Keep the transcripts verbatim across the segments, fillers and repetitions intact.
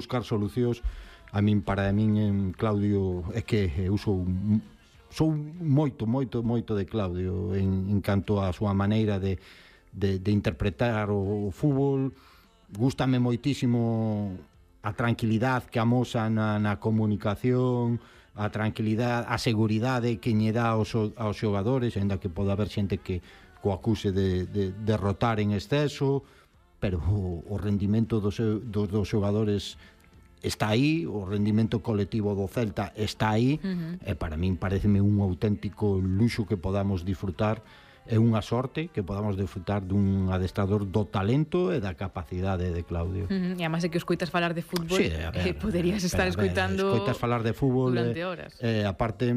buscar solucións. A min, para min, en Claudio, é que eu sou sou moito, moito, moito de Claudio en, en canto á súa maneira de, de, de interpretar o, o fútbol. Gústame moitísimo a tranquilidade que amosa na, na comunicación, a tranquilidade, a seguridade que lle dá aos, aos xogadores, ainda que pode haber xente que o acuse de, de derrotar en exceso, pero o, o rendimento dos, dos, dos xogadores está aí, o rendimento colectivo do Celta está aí, uh-huh. e para min pareceme un auténtico luxo que podamos disfrutar, é unha sorte que podamos disfrutar dun adestrador do talento e da capacidade de Claudio. Uh-huh. E además é que escoitas falar de fútbol, sí, ver, eh, poderías estar ver, escoitando escoitas falar de fútbol durante horas. Eh, aparte,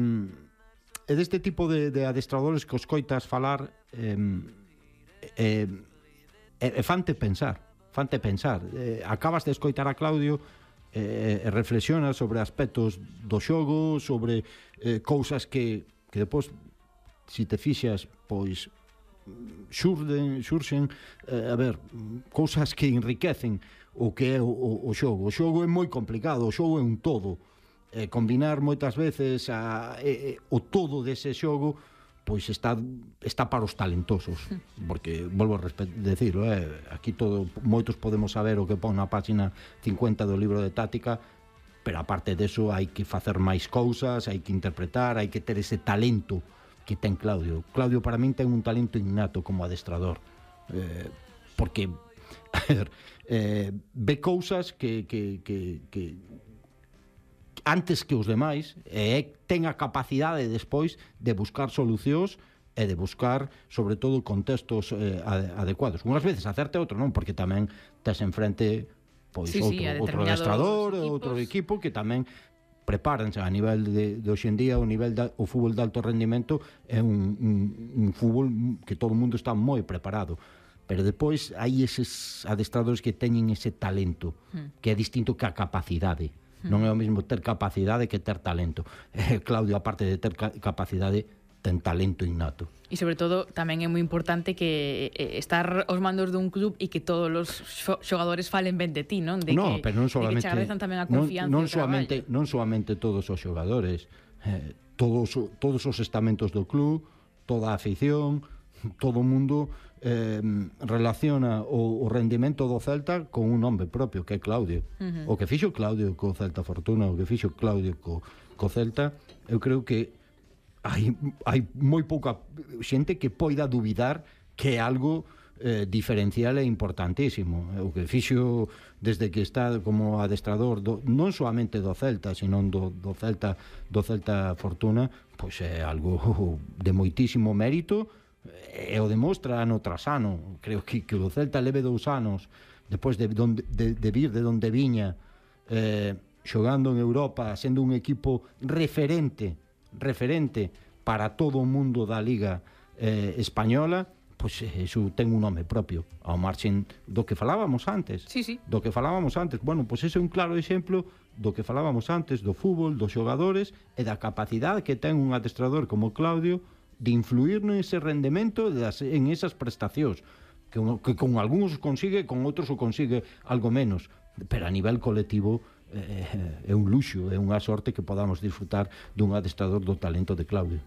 é deste tipo de, de adestradores que escoitas falar eh, eh, eh, fante pensar, fante pensar. Eh, acabas de escoitar a Claudio e eh, reflexionas sobre aspectos do xogo, sobre eh, cousas que, que depois, se te fixas, pois xurden, xurxen eh, a ver, cousas que enriquecen o que é o, o, o xogo. O xogo é moi complicado, o xogo é un todo. Eh, combinar moitas veces a, eh, o todo dese xogo pois está, está para os talentosos, porque, volvo a decirlo, eh, aquí todo, moitos podemos saber o que pon na página cincuenta do libro de táctica, pero aparte deso hai que facer máis cousas, hai que interpretar, hai que ter ese talento que ten Claudio. Claudio para min ten un talento innato como adestrador, eh, porque a ver, eh, ve cousas que, que, que, que antes que os demais, e ten a capacidade despois de buscar solucións e de buscar, sobre todo, contextos eh, adecuados. Unhas veces acerte, outro non, porque tamén tes enfrente pois sí, outro, sí, outro adestrador, outro equipo que tamén prepáranse a nivel de, de hoxendía, o nivel da, o fútbol de alto rendimento é un, un, un fútbol que todo o mundo está moi preparado. Pero depois hai eses adestradores que teñen ese talento, que é distinto que a capacidade. Non é o mesmo ter capacidade que ter talento. Eh, Claudio, aparte de ter capacidade, ten talento innato. E sobre todo, tamén é moi importante que eh, estar aos mandos dun club e que todos os xogadores falen ben de ti, non? De no, que, pero non solamente, de que che agradezan tamén a confianza non, non e o traballo. solamente, non solamente todos os xogadores, eh, todos, todos os estamentos do club, toda a afición, todo o mundo eh, relaciona o, o rendimento do Celta con un nome propio, que é Claudio. Uh-huh. O que fixo Claudio co Celta Fortuna, o que fixo Claudio co, co Celta, eu creo que hai, hai moi pouca xente que poida duvidar que é algo eh, diferencial e importantísimo. O que fixo desde que está como adestrador do, non solamente do Celta, sino do, do Celta do Celta Fortuna, pois é algo de moitísimo mérito, e o demostra ano tras ano. Creo que, que o Celta leve dous anos depois de, donde, de, de vir de donde viña, eh, xogando en Europa, sendo un equipo referente referente para todo o mundo da Liga eh, Española, pois iso ten un nome propio, ao marxen do que falábamos antes. Sí, sí. Do que falábamos antes. Bueno, pois ese é un claro exemplo do que falábamos antes, do fútbol, dos xogadores e da capacidade que ten un adestrador como Claudio de influir nese rendemento, en esas prestacións, que, que con algúns consigue, con outros o consigue algo menos, pero a nivel colectivo eh, é un luxo, é unha sorte que podamos disfrutar dun adestrador do talento de Claudio.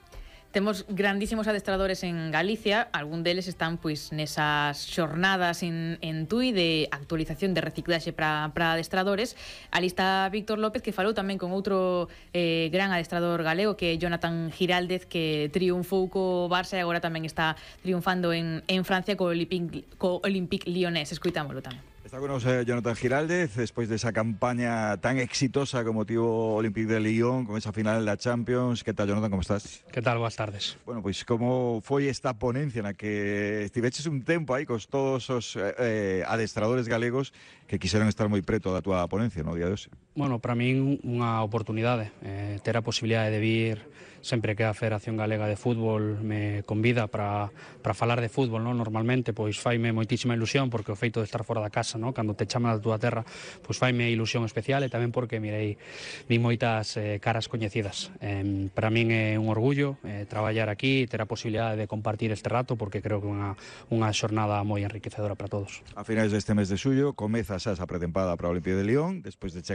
Temos grandísimos adestradores en Galicia, algún deles están pois nesas xornadas en, en Tui de actualización de reciclaxe para adestradores. Ali está Víctor López, que falou tamén con outro eh, gran adestrador galego, que é Jonathan Giraldez, que triunfou co Barça e agora tamén está triunfando en, en Francia co Olympique, co Olympique Lyonnais. Escoitámoslo tamén. Está con nosotros Jonathan Giraldez, después de esa campaña tan exitosa como tuvo Olympique de Lyon, con esa final de la Champions. ¿Qué tal, Jonathan? ¿Cómo estás? ¿Qué tal? Buenas tardes. Bueno, pues ¿cómo fue esta ponencia en la que estiveches un tempo aí con todos os eh, adestradores galegos que quixeron estar moi preto da túa ponencia no día de hoxe? Bueno, para min unha oportunidade, eh, ter a posibilidade de vir sempre que a Federación Galega de Fútbol me convida para, para falar de fútbol, ¿no? Normalmente, pois faime moitísima ilusión, porque o feito de estar fora da casa, ¿no? Cando te chaman da túa terra, pois faime ilusión especial, e tamén porque mirei vi moitas eh, caras coñecidas. Eh, para min é un orgullo eh, traballar aquí e ter a posibilidade de compartir este rato, porque creo que é unha, unha xornada moi enriquecedora para todos. A finais deste mes de xullo comeza xa esa pretempada para o Olympique de Lyon, despois de chegar